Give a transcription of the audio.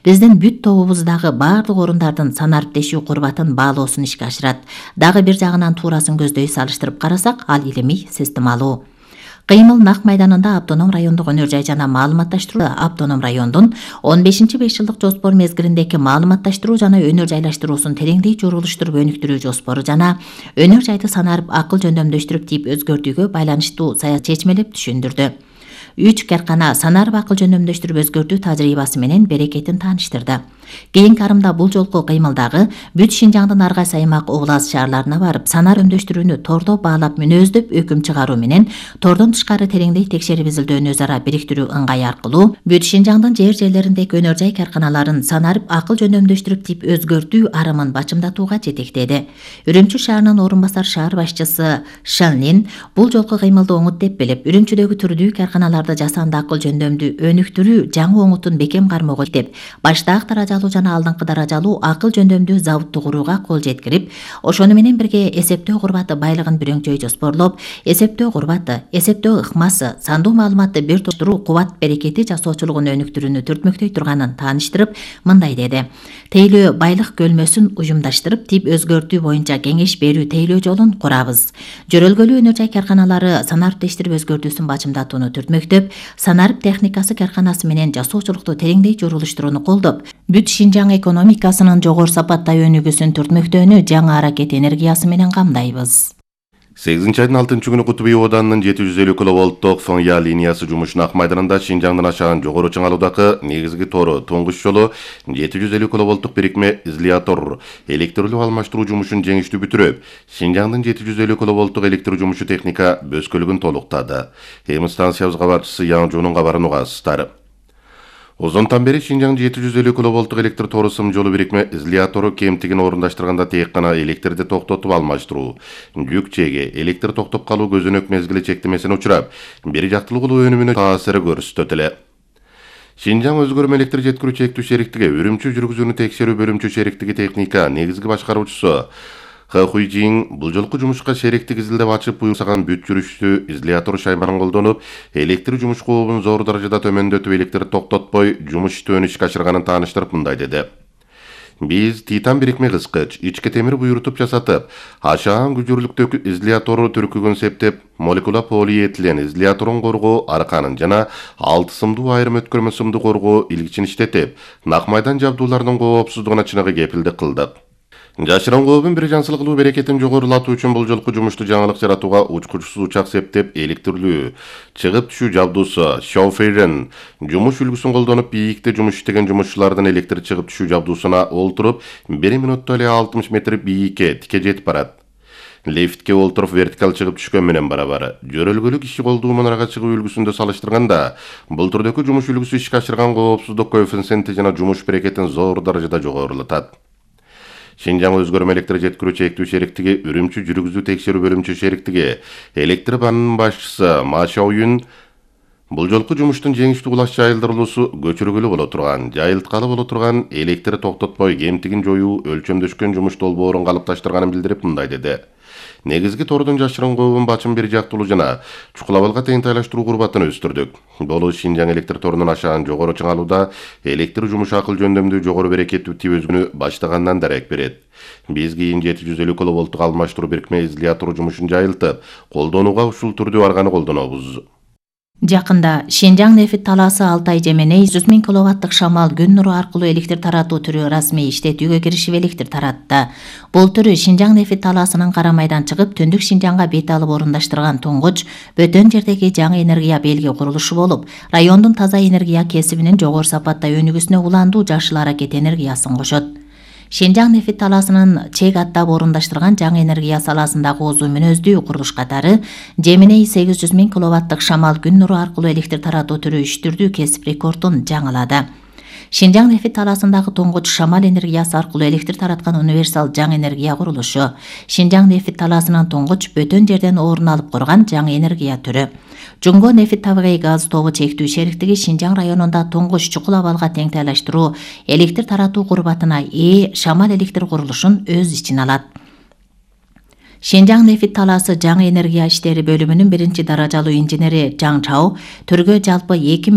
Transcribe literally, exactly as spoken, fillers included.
Биздин бүт тобубуздагы баардык орундардын санариптешүү курбатын баалоосун ишке ашырат. Дагы бир жагынан туурасын көздөй салыштырып карасак, ал илимий системалуу. Кыймыл Нак майданында автоном райондук өнөр жай жана маалыматташтыруу автоном райондун он бешинчи беш жылдык жоспор мезгилиндеки маалыматташтыруу жана өнөр жайлаштыруусун тереңдей журулуштуруп өнүктүрүү жоспору жана өнөр жайды санарип акыл жөндөмдөштүрүп тип өзгөртүүгө байланыштуу саясат чечмелеп түшүндүрдү. Үч каркана санарип акыл жөндөмдөштүрүп өзгөртүү тажрыйбасы менен берекетин тааныштырды. Кийинки арымда бул жолку кыймылдагы бүт Шинжаңдын ар кайсы аймак област шаарларына барып, санар өндөштүрүүнү тордо баалап мүнөздөп өкүм чыгаруу менен тордон тышкары тереңдей текшерип изилдөөнү өз ара бириктирүү ыңгайы аркылуу бүт Шинжаңдын жер жерлериндеги өнөр жай карканаларын санарип акыл жөндөмдөштүрүп тип өзгөртүү арымын бачымдатууга жетектеди. Үрүмчү шаарынын орун басар шаар башчысы Шанлин бул жолку кыймылды оңут деп билип, Үрүмчүдөгү түрдүү карканаларды жасанды акыл жөндөмдүү өнүктүрүү жаңы оңутун бекем кармоого деп, баштаак даражалуу жана алдыңкы даражалуу акыл жөндөмдүү заводду курууга кол жеткирип, ошону менен бирге эсептөө курбаты байлыгын бүрөңчөй жоспорлоп, эсептөө курбаты, эсептөө ыкмасы, сандуу маалыматты бир топтуруу кубат берекети жасоочулугун өнүктүрүүнү түртмөктөй турганын тааныштырып, мындай деди: тейлөө байлык көлмөсүн ужумдаштырып, тип өзгөртүү боюнча кеңеш берүү тейлөө жолун курабыз. Жөрөлгөлүү өнөр жай карканалары санариптештирип өзгөртүүсүн бачымдатууну түртмөктөп, санарип техникасы карканасы менен жасоочулукту тереңдей журулуштурууну колдоп, бүт Шинжаң экономикасынын жогору сапаттай өнүгүүсүн түртмөктөөнү жаңы аракет энергиясы менен камдайбыз. сегизинчи айдын алтынчы күнү Кутуп Оданынын жети жүз элүү киловольттук Фоңя линиясы жумушуна Ак майданында Шинжаңдын ашаган жогору чыңалуудагы негизги тору туңгуч жолу жети жүз элүү киловольттук бирикме изолятор электрлүү алмаштыруу жумушун жеңиштүү бүтүрүп, Шинжаңдын жети жүз элүү киловольттук электр жумушу техника бөскөлүгүн толуктады. Эми станциябыз кабарчысы Яңжуунун кабарын угасыздар. Озонтан бери Шинжаңдын жети жүз элүү киловольттук электр тору сым жолу бирикме изолятору кемтигин орундаштырганда тек гана электрди токтотуп алмаштыруу, жүк чеги, электр токтоп калуу көзөнөк мезгили чектемесине учурап, бир жактылуулуу өнүмүнө таасиры көрсөтөт эле. Шинжаң өзгөрмө электр жеткирүү чектүү шериктиги Үрүмчү жүргүзүүнү текшерүү бөлүмчө шериктиги техника негизги башкаруучусу Ха Хуйжин бул жолку жумушка шериктик изилдеп ачып буйрсаган бүт жүрүштүү изолятор шайманын колдонуп, электр жумуш кообун зор даражада төмөндөтүп, электр токтотпой жумуш иштөөнү ишке ашырганын тааныштырып мындай деди: Биз титан бирикме кыскыч, ички темир буйрутуп жасатып, ашаан күчүрлүктөгү изолятору түркүгүн септеп, молекула полиэтилен изоляторун коргоо арканын жана алты сымдуу айрым өткөрмө сымды коргоо илгичин иштетип, Нак майдан жабдууларынын коопсуздугуна чыныгы кепилдик кылдык. Жашырын кообун бир жансылыклуу берекетин жогорулатуу үчүн бул жолку жумушту жаңылык жаратууга учкучсуз учак септеп, электрлүү чыгып түшүү жабдуусу Шоуферен жумуш үлгүсүн колдонуп, бийикте жумуш иштеген жумушчулардын электр чыгып түшүү жабдуусуна олтуруп, бир мүнөттө эле алтымыш метр бийикке тике жетип барат. Лифтке олтуруп вертикал чыгып түшкөн менен барабар. Жөрөлгөлүк иши колдуу мунарага чыгуу үлгүсүндө салыштырганда, бул түрдөгү жумуш үлгүсү ишке ашырган коопсуздук коэффициенти жана жумуш берекетин зор даражада жогорулатат. Шинжаң өзгөрмө электр жеткирүү чектүү шериктиги Үрүмчү жүргүзүү текшерүү бөлүмчө шериктиги электр банынын башчысы Ма Шаоюн бул жолку жумуштун жеңиштүү улаш жайылдырылуусу көчүргүлүү боло турган, жайылткалы боло турган, электр токтотпой кемтигин жоюу өлчөмдөшкөн жумуш долбоорун калыпташтырганын билдирип мындай деди: Негизги тордун жашырын кообун бачын бир жактылуу жана чукулабалга теңтайлаштыруу курбатын өстүрдүк. Бул Шинжаң электр торунун ашаан жогору чыңалууда электр жумушу акыл жөндөмдүү жогору берекеттүү тип өзгөнү баштагандан дарек берет. Биз кийин жети жүз элүү киловольттук алмаштыруу бирикме изолятору жумушун жайылтып, колдонууга ушул түрдүү арганы колдонобуз. Жакында Шинжаң нефит талаасы Алтай Жеменей жүз миң киловаттык шамал күн нуру аркылуу электр таратуу түрү расмий иштетүүгө киришип электр таратты. Бул түрү Шинжаң нефит талаасынын кара майдан чыгып, түндүк Шинжаңга бет алып орундаштырган туңгуч бөтөн жердеги жаңы энергия белги курулушу болуп, райондун таза энергия кесибинин жогору сапаттай өнүгүүсүнө уландуу жашыл аракет энергиясын кошот. Шинжаң нефит талаасынын чек аттап орундаштырган жаңы энергия саласындагы озуу мүнөздүү курулуш катары Жеменей сегиз жүз миң киловаттык шамал күн нуру аркылуу электр таратуу түрү үчтүрдүү кесип рекордун жаңылады. Шинжаң нефит талаасындагы туңгуч шамал энергиясы аркылуу электр тараткан универсал жаңы энергия курулушу. Шинжаң нефит талаасынын туңгуч бөтөн жерден орун алып курган жаңы энергия түрү. Жумго нефит табигый газ тобу чектүү шериктиги Шинжаң районунда туңгуч чукулабалга теңтайлаштыруу электр таратуу курбатына ээ шамал электр курулушун өз ичине алат. Шинжаң нефит талаасы жаңы энергия иштери бөлүмүнүн биринчи даражалуу инженери Жаң Чао түргө жалпы эки